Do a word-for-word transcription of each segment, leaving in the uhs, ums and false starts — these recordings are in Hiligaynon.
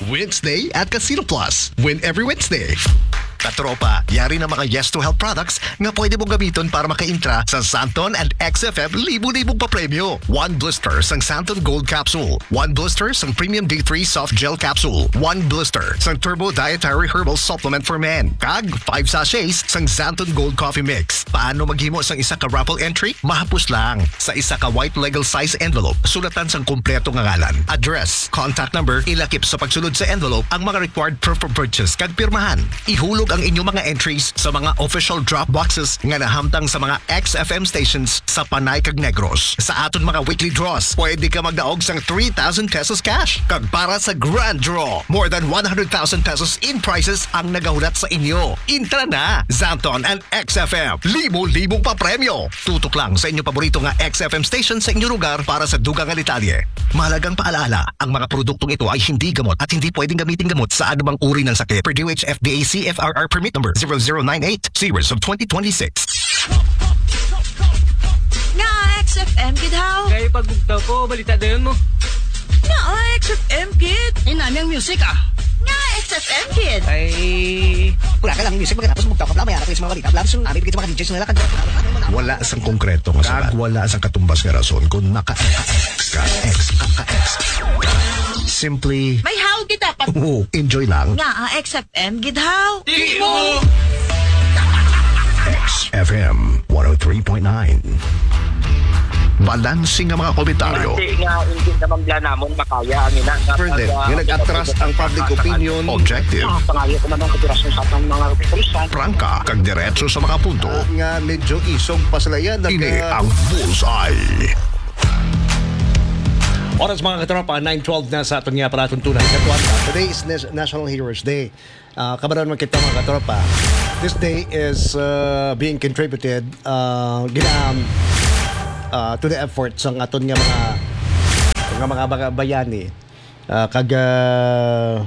Wednesday at Casino Plus. Win every Wednesday. Katropa, yari na mga Yes to Help products nga pwede mong gamiton para makaintra sa Santon and X F M libo-libong papremyo. One blister sang Santon Gold Capsule, one blister sang Premium D three Soft Gel Capsule, one blister sang Turbo Dietary Herbal Supplement for Men, kag five sachets sang Santon Gold Coffee Mix. Paano maghimo sang isa ka raffle entry? Mahapos lang. Sa isa ka white legal size envelope, sulatan sang kompleto nga ngalan, address, contact number, ilakip sa pagsulod sa envelope ang mga required proof of purchase kag pirmahan. Ihulog ang inyong mga entries sa mga official drop boxes nga nahamtang sa mga X F M stations sa Panay kag Negros. Sa aton mga weekly draws, pwede ka magdaog sang three thousand pesos cash. Kag para sa grand draw, more than one hundred thousand pesos in prizes ang nagahulat sa inyo. Intra na! Santon and X F M, libo-libong papremyo. Tutok lang sa inyong paborito nga X F M station sa inyong lugar para sa dugang nga detalye. Mahalagang paalala, ang mga produktong ito ay hindi gamot at hindi pwedeng gamitin gamot sa anumang uri ng sakit. Per D O H F D A C F R R permit number zero zero nine eight, series of twenty twenty-six. Nga X F M gid haw. Kay pagbugtaw ko, balita dayon mo. Nga X F M gid. Ay, nami ang music, ah. Nga X F M gid. Ay, wala ka lang music, magkatapos bugtaw ka pala, may harap yung mga balita. Blam, sun, abi, bigyan sa mga D Js nila, kag wala sang konkreto nga sabat. Kag wala sang katumbas nga rason kung naka-X ka, X, ka, ka-X. Simply May haw kita pa. Oo, enjoy lang. Nga, ah, X F M gid haw. Di mo. X F M one oh three point nine. Balanse nga mga komentaryo. Hindi nga, hindi naman bla namon makaya ang ina nga Further, pag, ah, nga nag-atras ang public opinion. Objective. Ah, pangayo ko man ang kooperasyon sa atong mga kapulisan. Prangka, kag diretso sa mga punto. Ah, nga medyo isog pa sila yan. Ini ang Bullseye. Oras, mga katropa, nine twelve na sa aton nga palatuntunan. Katuan, today is Nas-, National Heroes Day. Ah, kabalo man kita, mga katropa. This day is, uh, being contributed, uh, gina-, uh, to the efforts sang aton nga mga, nga mga baga-, bayani, uh, kag, uh,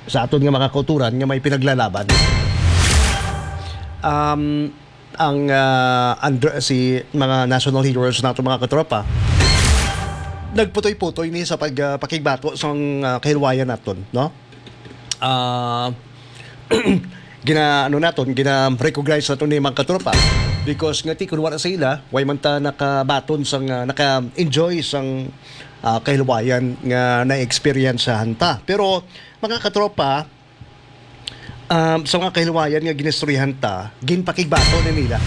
sa aton nga mga kauturan nga may pinaglalaban. Um, ang, uh, under, si mga national heroes nato, mga katropa, nagputoy-putoy ni sa pag, uh, pakigbato sang, uh, kahilwayan naton, no? Ah, gina-, ano naton, gina-recognize naton ni mga katropa. Because nga ti, kung wala sa ila, way man ta nakabaton sang, ah, naka-enjoy sang, ah, kahilwayan nga na-experiencehan ta. Pero, mga katropa, um, sa mga kahilwayan nga ginistoryahan ta, ginpakigbato na nila.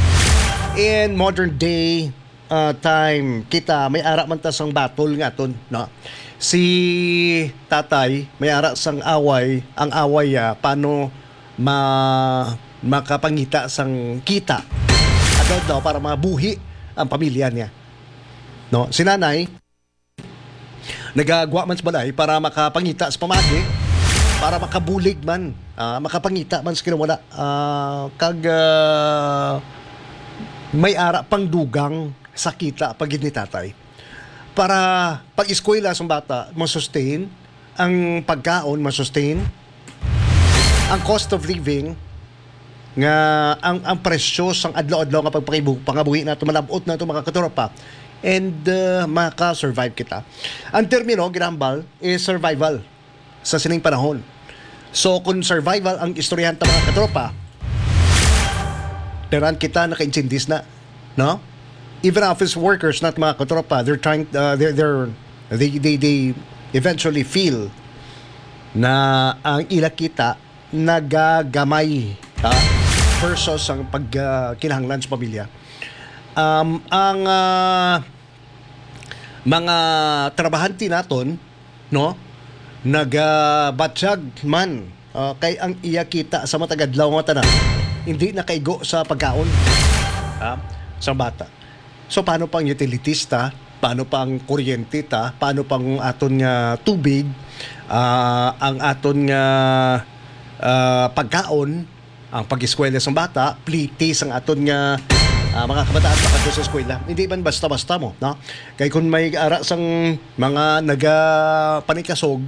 In modern day, ah, time, kita, may ara man ta sang battle nga aton, no? Si tatay, may ara sang away, ang away, ah, paano ma-, makapangita sang kita adlaw-adlaw para mabuhi ang pamilya niya, no? Si nanay, nagagwa man sa balay para makapangita sa pamagi, para makabulig man, ah, makapangita man sa kinawala, ah, kag, ah, may ara pang dugang sa kita pa gid ni tatay. Para pag-eskwela sang bata, ma-sustain, ang pagkaon, ma-sustain, ang cost of living, nga ang, ang presyo sang adlaw-adlaw nga pagpakibu-, pangabuhi nato, malab-ot nato, mga katropa. And, uh, maka-survive kita. Ang termino ginahambal is survival sa sining panahon. So, kung survival ang istoryahan ta, mga katropa, tanan kita nakaintsindis na, no? Even office workers, not, mga katropa, they're trying, uh, they're, they're, they, they, they eventually feel na ang ila kita nagagamay, ha? Versus ang pag, ah, kinahanglan sa pamilya. Um, ang, ah, mga trabahante naton, no, nagabatyag man, ah, kay ang iya kita sa matag adlaw nga tanan, hindi nakaigo sa pagkaon, ha, sa bata. So, paano pang utilities ta? Paano pang kuryente ta? Paano pang aton nga tubig? Ah, ang aton nga, ah, pagkaon, ang pag-eskwela sa bata, pliti sang aton nga, ah, mga kabataan pakadto sa eskwela. Hindi man basta-basta mo, no? Kay kung may ara sang mga nagapanikasog,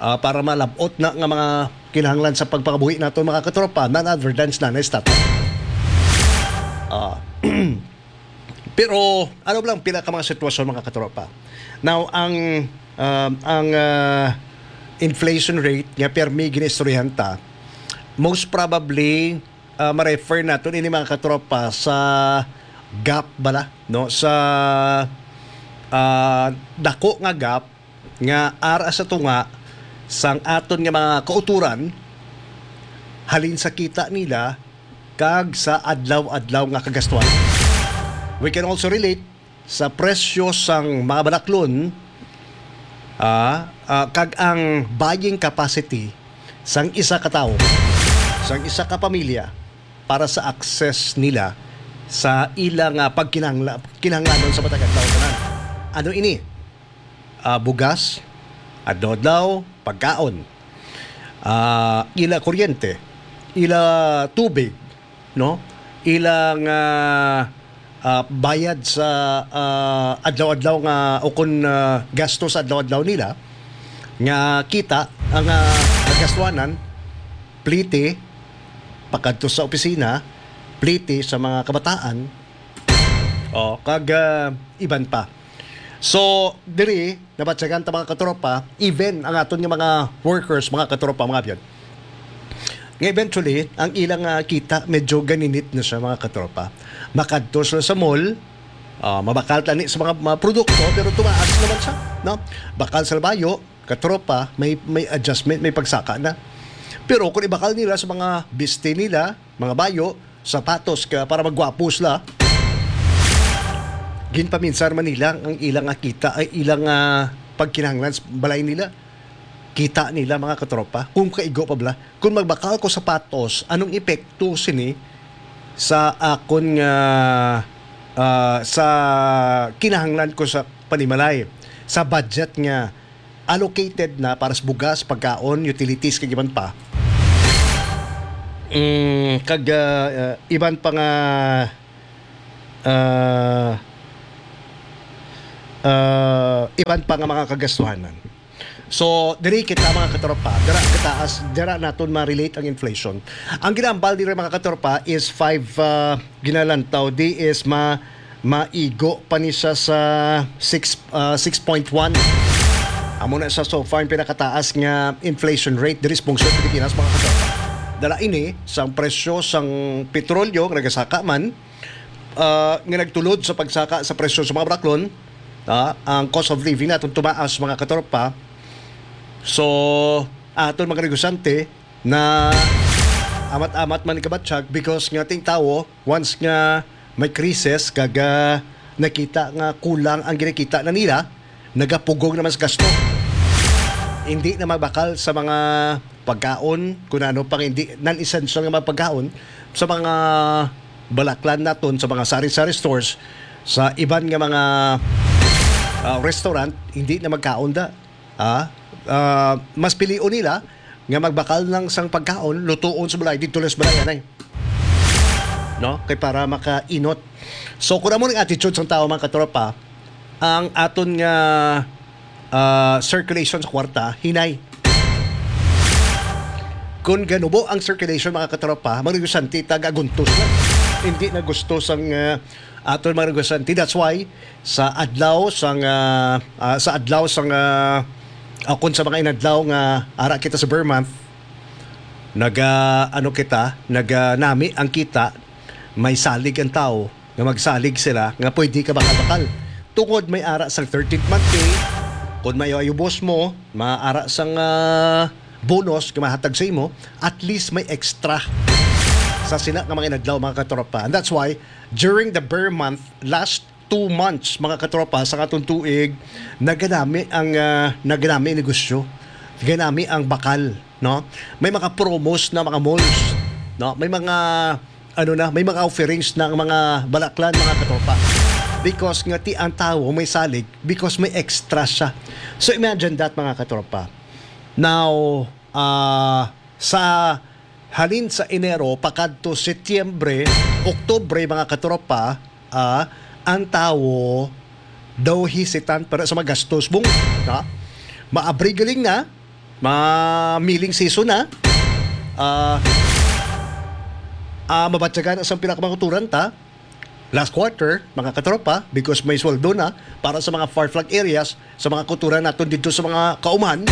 ah, para malab-ot na nga mga kinahanglan sa pagpangabuhi nato, mga katropa, non-advertence na na stop. Ah, pero ano lang pila ka mga sitwasyon, mga katropa? Now, ang, um, ang, ah, inflation rate nga permi ginaistoryahan ta, most probably, ah, ma-refer naton ini, mga katropa, sa gap bala, no? Sa, ah, dako nga gap nga ara sa tunga sang aton nga mga kautoran halin sa kita nila kag sa adlaw-adlaw nga kagastuhan. We can also relate sa presyo sang mga balaklon, ah, ah, kag ang buying capacity sang isa ka tawo, sang isa ka pamilya para sa access nila sa ilang, ah, pagkinahangla-, kinahanglanon sa matag adlaw tanan. Ano ini? Ah, bugas, adlaw-adlaw, pagkaon, ah, ila kuryente, ila tubig, no? Ilang, ah, ah, bayad sa, ah, adlaw-adlaw nga, o kun, ah, gasto sa adlaw-adlaw nila nga kita ang, ah, gastuanan, plite pakadto sa opisina, plite sa mga kabataan, o kag, ah, iban pa. So, diri, nabatyagan ta, mga katropa, even ang aton nga mga workers, mga katropa, mga abyan, nga eventually, ang ilang, ah, kita medyo ganinit na siya, mga katropa. Makadto sila sa mall, ah, mabakal tani sa mga, mga produkto, pero tumaas naman siya, no? Bakal sa labayo, katropa, may, may adjustment, may pagsaka na. Pero kung ibakal nila sa mga biste nila, mga bayo, sapatos ka para magwapo sila, ginpaminsar man nila ang ilang, ah, kita, ay ilang, ah, pagkinahanglan sa balay nila. Kita nila, mga katropa, kung kaigo pa bala. Kung magbakal ko sapatos, anong epekto sini sa akon nga, ah, sa kinahanglan ko sa panimalay, sa budget nga allocated na para sa bugas, pagkaon, utilities, kag iban pa? Mm, kag, ah, ah, iban pa nga, ah, ah, iban pa nga mga kagastuhanan. So, diri kita, mga katropa, dira gataas, dira naton ma-relate ang inflation. Ang ginambal diri, mga katropa, is five, ah, ginalantaw. Di is ma-, maigo pa ni siya sa six, ah, six point one. Amo na siya so far ang pinakataas nga inflation rate diri sa pungsod Pilipinas, mga katropa. Dala ini sang presyo sang petrolyo nga nagasaka man, ah, nga nagtulod sa pagsaka sa presyo sa mga baraklon, ah, ang cost of living naton tumaas, mga katropa. So, aton mga negosyante na amat-amat man ikabatyag because nga ting tawo, once nga may krisis, kag, ah, nakita nga kulang ang ginakita na nila, nagapugong naman sa gasto. Hindi na mabakal sa mga pagkaon, kung ano pang hindi non-essential nga mga pagkaon, sa mga balaklan naton, sa mga sari-sari stores, sa iban nga mga, ah, restaurant, hindi na magkaon da. Ah, ah, mas pilion nila nga magbakal lang sang pagkaon, lutuon sa balay, didto lang sa balay, anay. No? Kay para makainot. So, kung amo ang attitude sang tao, mga katropa, ang aton nga, ah, circulation sa kwarta, hinay. Kung ganubo ang circulation, mga katropa, mga negosyante, taga-aguntos na. Hindi na gusto sang, ah, aton mga negosyante. That's why, sa adlaw sang, ah, ah, sa adlaw sang, ah, ah, kung sa mga inadlaw nga ara kita sa Burr month, naga, ano kita, naganami ang kita, may salig ang tao, nga magsalig sila, nga pwede ka bakal-bakal. Tungod may ara sang thirteenth month pay, kung may ayubos mo, maara sang, ah, bonus nga mahatag sa imo, at least may extra sa sina nga mga inadlaw, mga katropa. And that's why, during the Burr month, last two months, mga katropa, sa katong tuig, naganami ang, ah, naganami ang negosyo. Naganami ang bakal, no? May mga promos na mga malls, no? May mga, ano na, may mga offerings na ang mga balaklan, mga katropa. Because nga ti ang tawo may salig, because may extra siya. So imagine that, mga katropa. Now, ah, sa halin sa Enero pakadto Setyembre, Oktubre, mga katropa, ah, ang tawo daw hesitant para sa magastos, bung, ha? Maabri galing na, ma-milling season na. Ah, ah, mabatyagan sa pila ka mga kutoran ta last quarter, mga katropa, because may sweldo na para sa mga far-flung areas, sa mga kutoran naton dito sa mga kauman.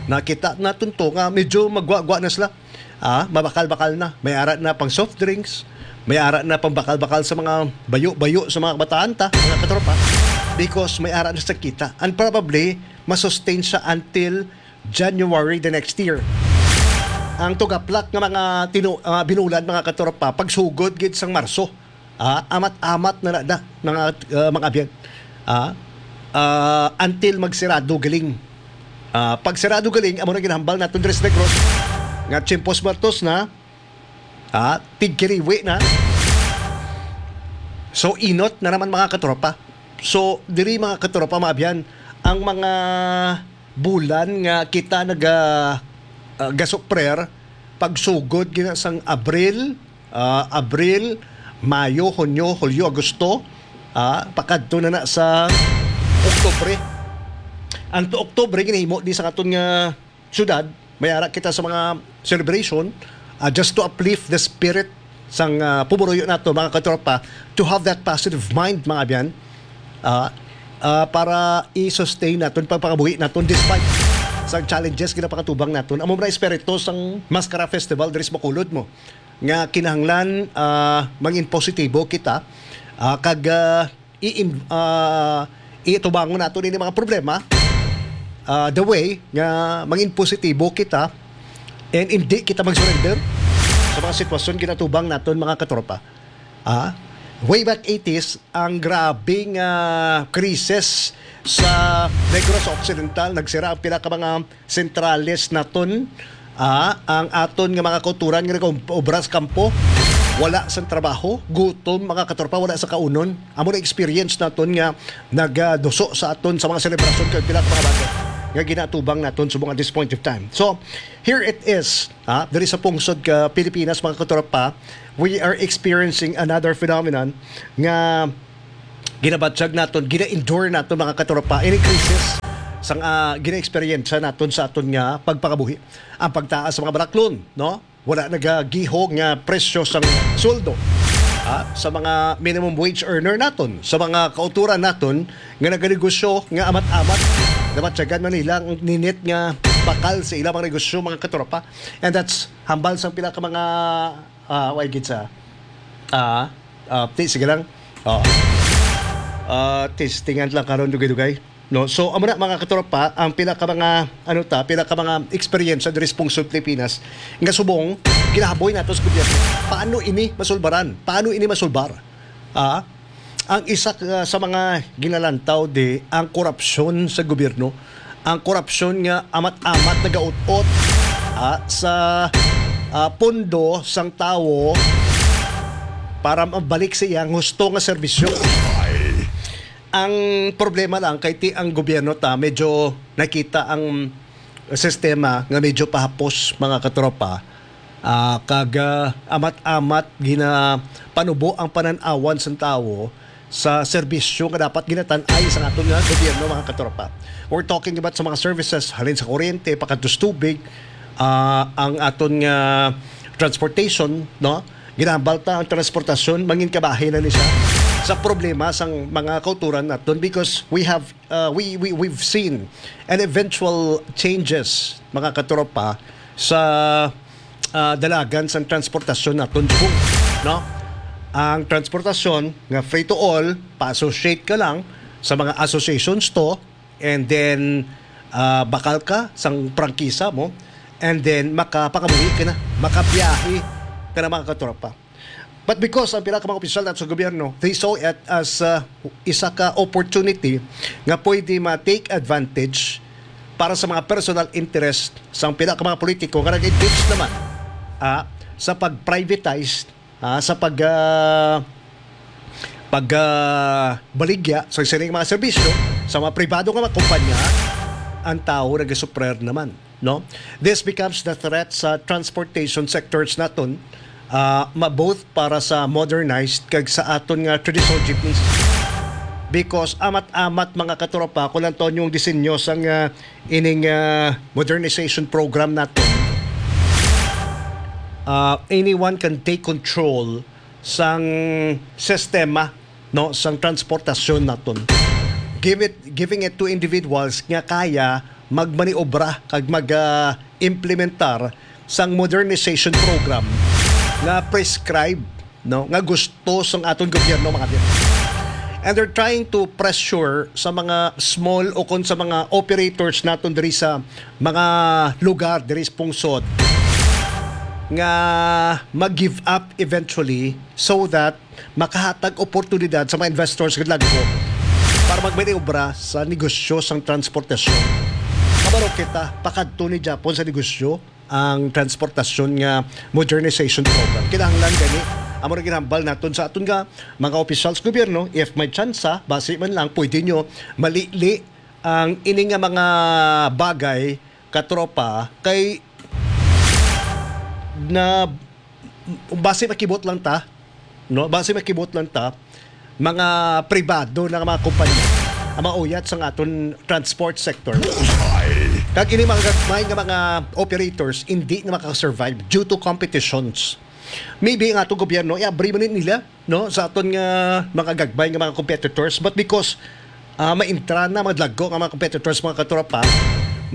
Nakita naton to nga medyo magwagwa na sila. Ah, mabakal-bakal na. May ara na pang soft drinks, may ara na pang bakal-bakal sa mga bayo-bayo sa mga kabataan ta, mga katropa. Because may ara na sa kita. And probably, masustain siya until January the next year. Ang tugaplak nga mga tinu-, ah, binulan, mga katropa, pagsugod gid sang Marso. Ah, amat-amat na na, na, mga, ah, mga abyan. Ah, ah, until magsirado galing. Ah, pag sirado galing, amo na ginahambal naton diri sa Negros, nga tiempos muertos na, ah, tigkiriwi na. So, inot na naman, mga katropa. So, diri, mga katropa, mga abyan, ang mga bulan nga kita naga, ah, gasuprer, pagsugod gina sang Abril, ah, Abril, Mayo, Hunyo, Hulyo, Agosto, ah, pakadto na na sa Oktubre. Ang to Oktubre, ginahimo di sa aton nga syudad, may ara kita sa mga celebration, ah, just to uplift the spirit sang, ah, pumuruyo nato, mga katropa, to have that positive mind, mga abyan, ah, ah, para i-sustain naton pagpangabuhi naton despite sa challenges ginapakatubang naton. Amo na espiritu sang Maskara Festival diri sa Bacolod mo, nga kinahanglan, ah, mangin positibo kita, ah, kag, ah, i-, ah, itubangon nato ini mga problema, ah, the way nga mangin positibo kita and hindi kita mag-surrender sa mga sitwasyon ginatubang naton, mga katropa. Ah, way back eighties, ang grabing, ah, krisis sa Negros Occidental, nagsira ang pila ka mga sentrales naton. Ah, ang aton nga mga kauturan nga nag-obra sa kampo, wala sa trabaho, gutom, mga katropa, wala sa kaunon. Amo na experience naton nga nagaduso sa aton sa mga selebrasyon kag pila ka mga bagay nga ginatubang naton sa mga this point of time. So, here it is, ha, diri sa pungsod ka Pilipinas, mga katropa, we are experiencing another phenomenon nga ginabatyag naton, gina-endure naton, mga katropa, ini crisis sang, ah, gina-experience naton sa aton nga pagpangabuhi. Ang pagtaas sa mga baraklon, no? Wala nagagiho nga presyo sang sweldo, ah, sa mga minimum wage earner naton, sa mga kauturan naton nga naganegosyo nga amat-amat, nabatyagan man nila ang ninit nga bakal sa ilang mga negosyo, mga katropa. And that's hambal sang pila ka mga, ah, way gid sa, ah, ah, ti, sige lang. Oh. Ah, testingan lang karon, dugay-dugay. No? So, amo na, mga katropa, ang pila ka mga, ano ta, pila ka mga eksperyensya diri sa pungsod Pilipinas nga subong ginahaboy nato sa gobyerno. Paano ini masulbaran? Paano ini masulbar? Ah, ang isa ka sa mga ginalantaw di ang korupsyon sa gobyerno, ang korupsyon nga amat-amat nagaut-ot, ah, sa, ah, pondo sang tawo para mabalik sa iyang husto nga serbisyo. Ang problema lang kay ti ang gobyerno ta medyo nakita ang sistema nga medyo pahapos, mga katropa. Ah, kag, ah, amat-amat ginapanubo ang panan-awan sang tawo sa serbisyo nga dapat ginatan-ay sa aton nga gobyerno, mga katropa. We're talking about sa mga services, halin sa kuryente, pakadto sa tubig, ah, ang aton nga transportation, no? Ginahambal ta ang transportasyon, mangin kabahin na ni siya sa problema sang mga kauturan naton because we have, uh, we, we, we've seen an eventual changes, mga katropa, sa, uh, dalagan sang transportasyon naton subong, no? Ang transportasyon nga free to all, pa-associate ka lang sa mga associations to, and then, uh, bakal ka sang prangkisa mo, and then makapangabuhi ka na, makabiyahe ka na, mga katropa. But because ang pila ka mga opisyal nato sa gobyerno, they saw it as, uh, isa ka opportunity nga pwede ma-take advantage para sa mga personal interest sang pila ka mga politiko nga nag-engage naman, ah, sa pag-privatize, ah, sa pag, ah, pag, ah, baligya sa sining mga serbisyo sa mga pribado nga mga kumpanya, ang tawo nagasuprer naman, no? This becomes the threat sa transportation sectors naton, ah, ma-, both para sa modernized kag sa aton nga traditional jeepneys. Because amat-amat, mga katropa, kung lang to yung disenyo sang, ah, ining, ah, modernization program naton, ah, anyone can take control sang sistema, no, sang transportasyon naton. Give it, giving it to individuals nga kaya magmaniobra kag mag-implementar sang modernization program nga prescribe, no, nga gusto sang aton gobyerno, mga kabyan. And they're trying to pressure sa mga small o kon sa mga operators naton diri sa mga lugar diri sa pungsod nga mag-give up eventually, so that makahatag oportunidad sa mga investors nga dagko para magmaniobra sa negosyo sang transportasyon. Kabalo kita, pakadto ni Japon sa negosyo ang transportasyon nga modernization program. Kinahanglan gani, amo na ginhambal naton sa aton nga mga opisyal sa gobyerno, if may tsansa, basi man lang pwede nyo malili ang ini nga mga bagay, katropa, kay na basi makibot lang ta, no? Basi makibot lang ta, mga pribado na mga kumpanya ang mauyat sa aton transport sector. Kag ini mga gagmay nga mga operators hindi na makasurvive due to competitions. Maybe ang atong gobyerno, i-abri man nila, no, sa aton nga mga gagmay nga mga competitors, but because ah, maintra na mga dagko nga mga competitors, mga katropa,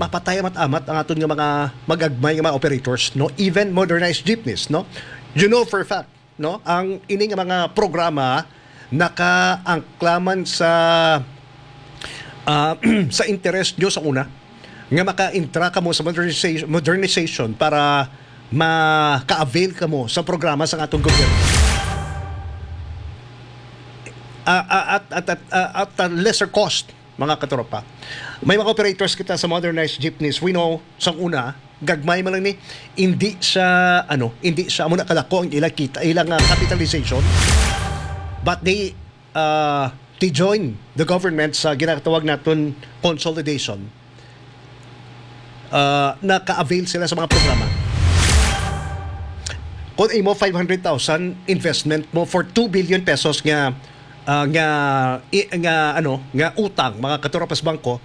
mapatay amat-amat ang aton nga mga magagmay nga mga operators, no? Even modernized jeepneys, no? You know for a fact, no? Ang ini nga mga programa nakaangklaman sa ah, sa interest nyo sa una nga maka-intra kamo sa modernization, modernization para maka-avail kamo sa programa sa atong gobyerno. Ah, ah, at, at, at, ah, at a lesser cost, mga katropa. May mga operators kita sa modernized jeepneys. We know, sang una, gagmay man lang ni, hindi siya, ano, hindi siya, amo na kadako ang ilang kita, ilang ah, capitalization. But they, uh, they join the government sa ginatawag naton consolidation. Uh, naka-avail sila sa mga programa. Kung imo five hundred thousand investment mo for two billion pesos nga ah, nga i- nga ano, nga utang, mga katropa sa bangko,